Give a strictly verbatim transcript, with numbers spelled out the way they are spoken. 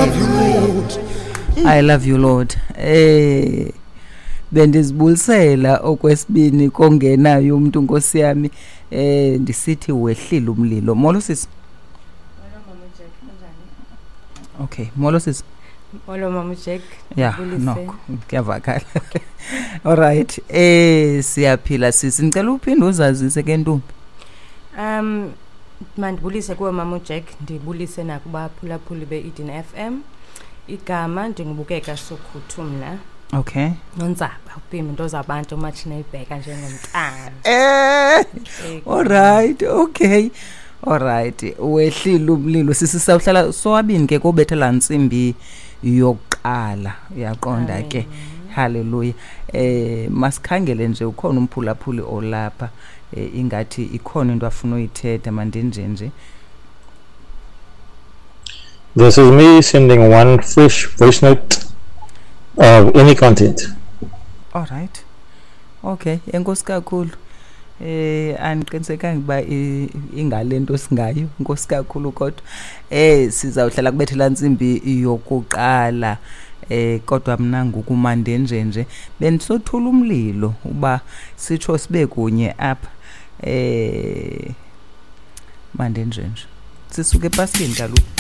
love you, Lord. I love you, Lord. Eh bendizibulisela okwesibini kongenayo umuntu, Nkosi yami, eh ndisithi wehlile umlilo. Molo sisi. Molo Mama Jack, kunjani? Okay, molo sisi. Molo Mama Jack. Yeah, ndibulise. Noko kuyavakala. Alright, eh siyaphila sisi. Ngicela uphinde uzazise ke, ntombi. Um mandibulise kuwe Mama Jack, ndibulise nakubaphulaphuli be-Eden F M. Igama ndingubukeka Sokhuthu mna. Okay. Nonzaba, upimba into zabantu umatshini eyibheka njengomntana. Eh Eh, Alright, okay. Alright, wehlile umlilo sisi, sawuhlala sowabini ke kobethela ntsimbi yokuqala. Uyaqonda ke. Hallelujah. Eh masikhangele nje, ukhona umphulaphuli olapha, eh, ingathi ikhona into afuna uyithetha, mandinje nje. This is me sending one fresh voice note of any content. Alright. Okay, enkosi kakhulu. Eh andiqinisekanga uba i- ingalento singayo, inkosi kakhulu, kodwa eh sizawuhlala kubethela ntsimbi yokuqala, eh kodwa mna ngoku mandenje nje bendisothula umlilo uba sitsho sibe kunye apha, eh mandenje nje sisuke epaskeni kaloku.